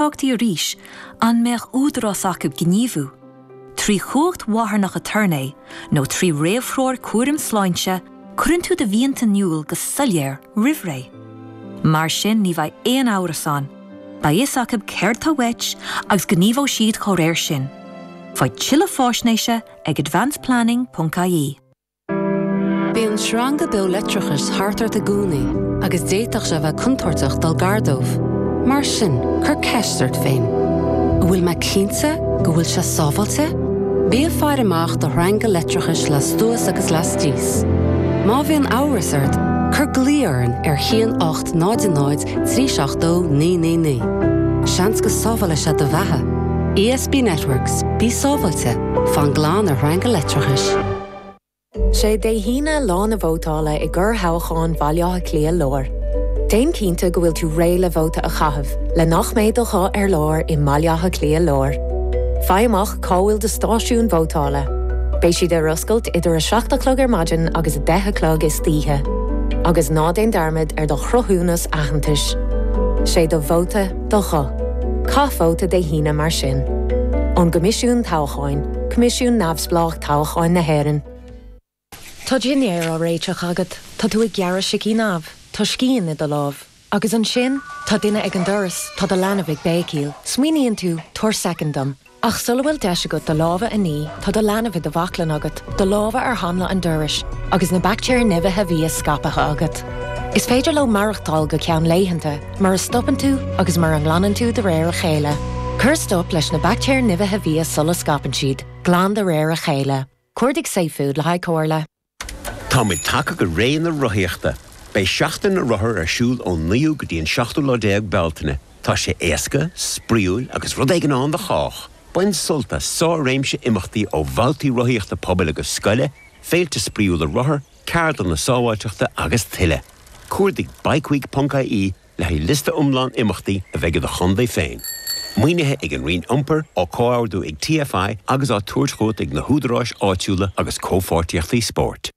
Deacrachtaí arís an mbeadh údarás acu gníomhú? Trí chumhacht mharthanach aturnae nó trí réamhthreoir cúraim sláinte, cuireann tú do mhianta in iúl go soiléir roimh ré. Mar sin ní bheidh aon amhras ann, beidh fhios acu céard tá uait agus gníomhóidh siad dá réir sin. Faigh tuilleadh faisnéise ag advanceplanning.ie. Bíonn sreanga beo leictreachais thart ort i gcónaí agus d'fhéadfadh sé a bheith contúirteach dul gar dóibh. Mar sin, cuir ceist ort féin, An bhfuil mé cinnte go bhfuil sé sábháilte? Bí ag faire amach do shreanga leictreachais lastuas agus lastíos. Má bhíonn amhras ort, cuir glao orainn ar 1 8 0 0 3 7 2 9 9 9. Seans go sábhálfaidh sé do bheatha. ESB Networks, bí sábháilte, fan glan ar shreanga leictreachais. Sé Dé hAoine lá na vótála i gcorrthoghchán Bhaile Átha Cliath Láir. Déan cinnte go bhfuil tú réidh le vóta a chaitheamh le nach mbeidh do ghuth ar lár i mBaile Átha Cliath Láir. Faigh amach cá bhfuil do stáisiún vótála. Beidh siad ar oscailt idir 7 a chlog ar maidin agus 10 a chlog istoíche. Agus ná déan dearmad ar do chruthúnas aitheantais. Sé do vóta do ghuth. Caith vóta Dé hAoine mar sin. Ón gCoimisiún Toghcháin, Coimisiún Neamhspleách Toghcháin na hÉireann. Tá dinnéar á réiteach agat, tá tú ag gearradh sicín amh, tá scian i do lámh. Agus ansin, tá duine ag an doras, tá do leanbh ag béicíl. Smaoiníonn tú, tabhair soicind dom. Ach sula bhfuil deis agat do lámha a ní, tá do leanbh i do bhaclainn agat, do lámha ar hanla an dorais, agus na baictéir nimhithe bhia scaipthe agat. Is féidir leo maireachtáil go ceann laethanta, mura stopann tú agus mura nglanann tú de réir a chéile. Cuir stop leis na baictéir nimhithe bhia sula scaipeann siad. Glan de réir a chéile. Cuardaigh safefood le haghaidh comhairle. Táimid tagtha go ré na rothaíochta. Beidh Seachtain na Rothar ar siúl ón 9ú go dtí an 17ú lá Bealtaine. Tá sé éasca, spraíúil agus rud éigin ann do chách! Bain sult as sár-réimse imeachtaí ó bhabhtaí rothaíochta pobail agus scoile, féilte spraíúla rothar, ceardlanna sábháilteachta agus tuilleadh. Cuardaigh bikeweek.ie le haghaidh liosta iomlán imeachtaí a bheidh i do chontae féin. Maoinithe ag an Roinn Iompair, á comhordú ag TFI agus á tabhairt chugat ag na húdaráis áitiúla agus comhpháirtíochtaí spóirt.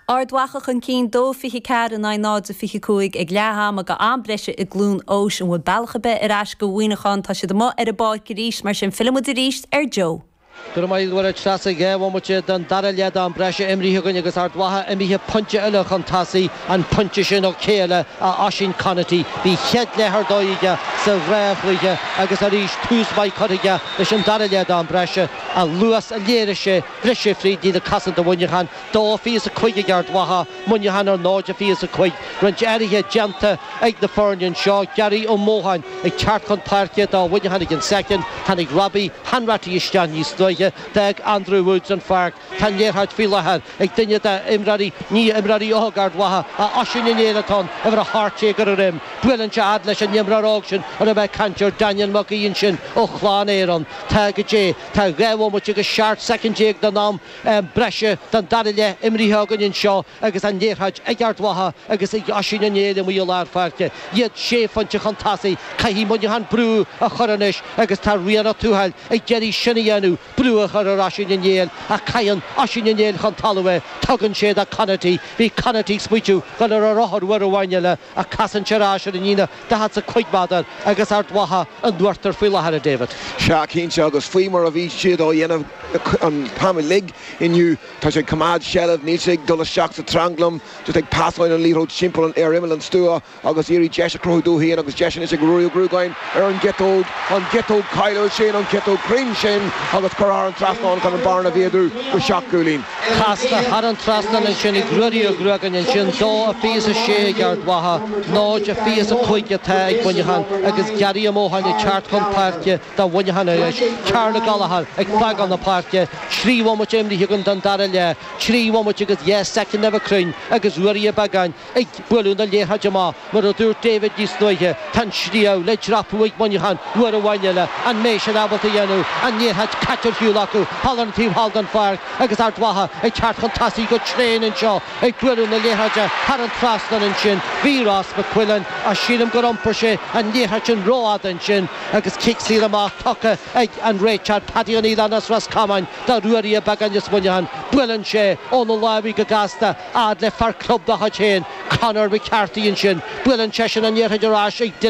Ard Mhacha chun cinn 2-24 in aghaidh 0-25 ag leath ama go am breise i gCluain Eois. An bhfuil bealach ar bith ar ais go Mhuineachán? Tá siad amuigh ar an bpáirc arís, mar sin fillfidh muid arís ar Joe. Go raibh maith agat a Treasa. 2 bhomaite den dara leath d'am breise imrithe againn agus Ard Mhacha imithe pointe eile chun tosaigh, an pointe sin ó chéile Oisín Conaty. Bhí a chéad leath ar dóigh aige sa dhá chluiche agus arís tús maith curtha aige leis an dara leath d'am breise. An luas a léirigh sé, bhris sé fríd líne cosanta Mhuineacháin. 2-25 ag Ard Mhacha, Muineachán ar 0-25. Roinnt athruithe déanta ag na foirne anseo. Gary Ó Mótháin ag teacht chun páirce do Mhuineachán ag an soicind. Tháinig Robbie Hanratty isteach níos luaithe. D'fhág Andrew Woods an pháirc. Tá an liathróid faoi láthair ag duine d'imreoirí, ní imreoirí óg Ard Mhacha, ach Oisín Ó Néill atá ann, uimhir 18 ar a dhroim. Buaileann sé fhad leis an imreoir óg sin a raibh mé ag caint air, Daniel Mac Aoidh ansin ó Chlann Éireann. Tá go dté. Tá 2 bhomaite agus 17 soicind den am breise den dara leath imrithe againn anseo agus an liathróid ag Ard Mhacha agus ag Oisín Ó Néill amuigh i lár pháirce. Iad sé phointe chun tosaigh. Caithfidh Muineachán brú a chur anois agus tá Rian Ó Tuathail ag iarraidh sin a dhéanamh, brú a chur ar Oisín Ó Néill ach caitheann Oisín Ó Néill chun talaimh é. Tugann sé do Conaty. Bhí Conaty ag smaoitiú dul ar a rothar uair amháin eile ach casann sé ar ais ar an líne 45 méadar agus Ard Mhacha in uachtar faoi láthair, a David. Sea, cinnte, agus faoi mar a bhí siad á dhéanamh an t-am uilig inniu, tá sé ag coimeád seilbh, níl sé ag dul isteach sa tranglam, just ag pasáil an liathróid timpeall ar imeall an stua agus iarraidh deis a chruthú dó féin agus deis anois ag Ruairí Ó Gruagáin ar an gciotóg, an chiotóg cáiliúil sin, an chiotóg chruinn sin agus curtha thar an trasnán chun an bearna a mhéadú go seacht gcúilín. Casta thar an trasnán ansin ag Ruairí Ó Gruagáin ansin, 2-26 ag Ard Mhacha, 0-25 atá ag Muineachán agus Gary Ó Mótháin ag teacht chun páirce do Mhuineachán anois. Karl Gallagher ag fágáil na páirce, 3 bhomaite imrithe againn den dara leath, 3 bhomaite agus 2 soicind le bheith cruinn agus Ruairí Ó Beagáin ag bualadh na liathróide amach. Mar a dúirt David níos luaithe, tá an sliabh le dreapadh ag Muineachán uair amháin eile. An mbeidh siad ábalta a dhéanamh? An liathróid caite ar shiúl acu thall ar an taobh thall den pháirc agus Ard Mhacha ag teacht chun tosaigh go tréan anseo, ag bualadh na liathróide thar an trasnán ansin. Bhí Ross McQuillan, ach sílim gur iompair sé an liathróid sin rófhada ansin agus cic saor amach tugtha ag an réiteoir Paddy Ó Nialláin as Ros Comáin do Ruairí Ó Beagáin as Muineachán. Buaileann sé óna lámhaigh go gasta. Fhad le fear club dá chuid féin. Conor McCarthy ansin. Buaileann seisean an liathróid ar ais ag Dylan.